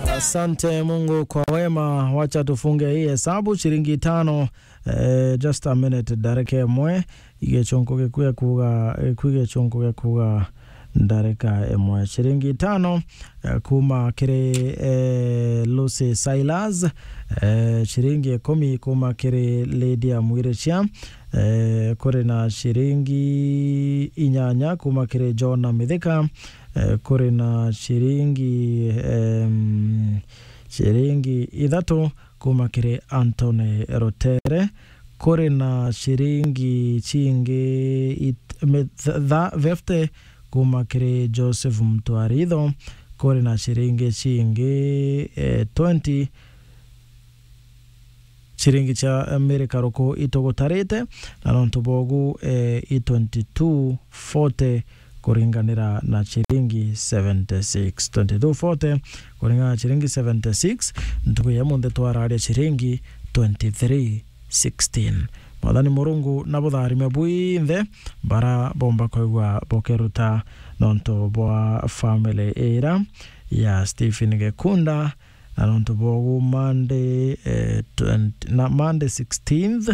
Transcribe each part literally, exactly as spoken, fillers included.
Asante Mungu kwa wema. Wacha tufunge hii hesabu, shilingi tano. Eh, just a minute, ndareka imwe. Igechunku gikue kuga, gikue igechunku gikuga ndareka imwe. Shilingi tano, eh, kuma kiri, eh, Lucy Silas. Eh, shilingi ikumi kuma kiri Lydia Mwiricia. Eh, kuri na shilingi inyanya kuma kiri John Mithika. Eh, kuri na shilingi, em, shilingi ithatu kuma kiri Anthony Rutere. Kuri na shilingi cingi it-, mi-, th-, tha-, fifty kuma kiri Joseph Mtwaritho. Kuri na shilingi cingi, eh, twenty, shilingi cia Amerika ruku itugutarite, na nontu bogu, eh, i twenty-two forty kuringanira na shilingi seventy-six. Twenty-two forty kuringana na shilingi seventy-six, ntuku ya munthe twararia shilingi twenty-three sixteen. Mwathani Murungu na butharime bwinthe bara bomba kwigua bukiruta nontu bwa family ira ya Stephen Gekunda, na nontu bogu Monday, eh, twenty, na Monday sixteenth,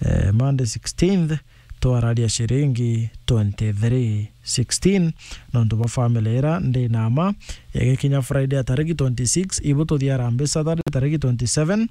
eh, Monday sixteenth, twararia shilingi twenty-three sixteen, nontu bwa family ira ndi na ma. Igikinya Friday ya tariki twenty-six, ibu tuthia Harambee Saturday tariki twenty-seven,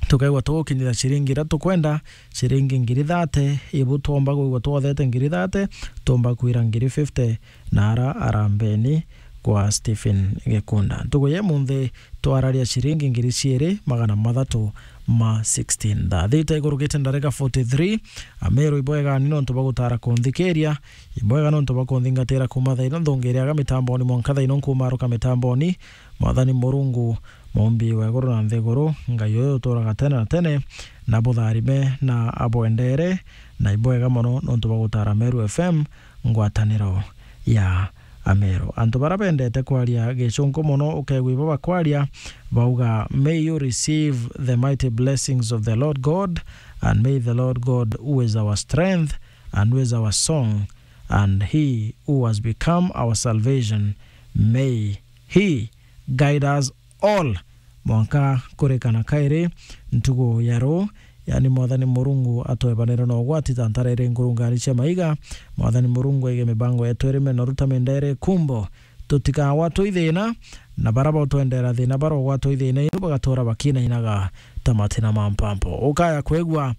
tukaigua tugukinyira shilingi ira tukwenda, shilingi ngiri thate, ibu twomba kwigua twothete ngiri thate, twomba kwira ngiri fifty, na ara arambeni kwa Stephen Gekunda. Ntuku ya munthi twararia shilingi ngiri ciiri magana mathatu ma sixteen. Thaa thita igurukite ndarika forty-three, Ameru ibwega ni nontu bwa gutara kunthikiria, ibwega nontu bwa kunthingatira kuma thaa ino nthungiriaga mitamboni mwanka thaa ino nkumaruka mitamboni. Mwathani Murungu, Muumbi wa iguru na nthiguru, Ngai uyu uturaga tene na tene, na butharime na abwendere, na ibwega mono nontu bwa gutara Meru F M ngwataniro ya Ameru. Antu bara bendete kwaria Gicunku mono, ukeegua ibo bakwaria, bauga, "May you receive the mighty blessings of the Lord God, and may the Lord God, who is our strength and who is our song, and he who has become our salvation, may he guide us all." Mwanka kurikana kairi ntugu ya ruu, yani Mwathani Murungu atwebanire na ugwati ta ntara iri ngurungani cia maiga. Mwathani Murungu aige mibango yetu iri menoru ta minda iri kumbo. Tutikagwatwe i thina, na bara bautwendera thina barogwatwa i thina inu bagatura bakinainaga ta matina ma mpampo. Ukaya kwigua,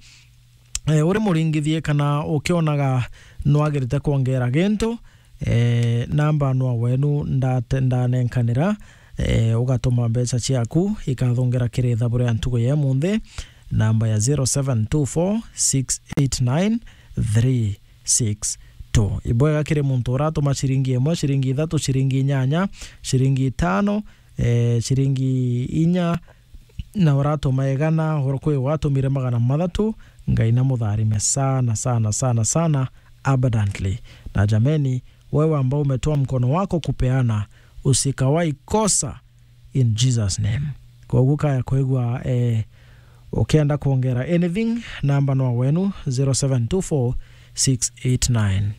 eh, uri muringithie kana ukionaga nwagirite kwongera gintu, eh, namba nwa wenu ndate-, ndanenkanira, eh, ugatuma mbeca ciaku ikathungira kiri ithabu ria ntugu ya munthi, namba ya zero seven two four six eight nine three six two. Ibwega kiri muntu uratuma ciringi imwe, ciringi ithatu, ciringi inyanya, ciringi itano, eh, ciringi inya, na uratuma igana, oro kwi watumire magana mathatu, Ngai na mutharime sana, sana, sana, sana, abundantly. Na jameni, wewe ambao umetoa mkono wako kupeana, usikawahi kosa in Jesus name. Koguo kaya kwigua, eh, ukienda kuongera anything, namba no wenu, zero seven two four six eight nine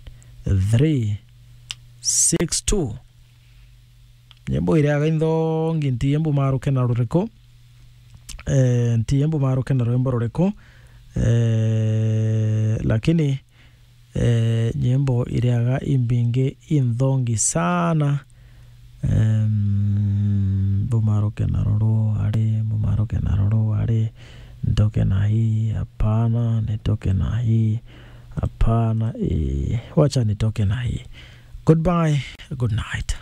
three six two. Nyimbo iriaga inthongi, nti imbu maruke na ruriku? Eh, nti imbu maruke na rwimbo ruriku? Eh, lakini, eh, nyimbo iriaga imbingi inthongi sana. Em, mbu maruke na ruru ari, mbu maruke na ruru ari, nitoke na hii, hapana, nitoke na hii, hapana, eh, wacha nitoke na hii. Goodbye, good night.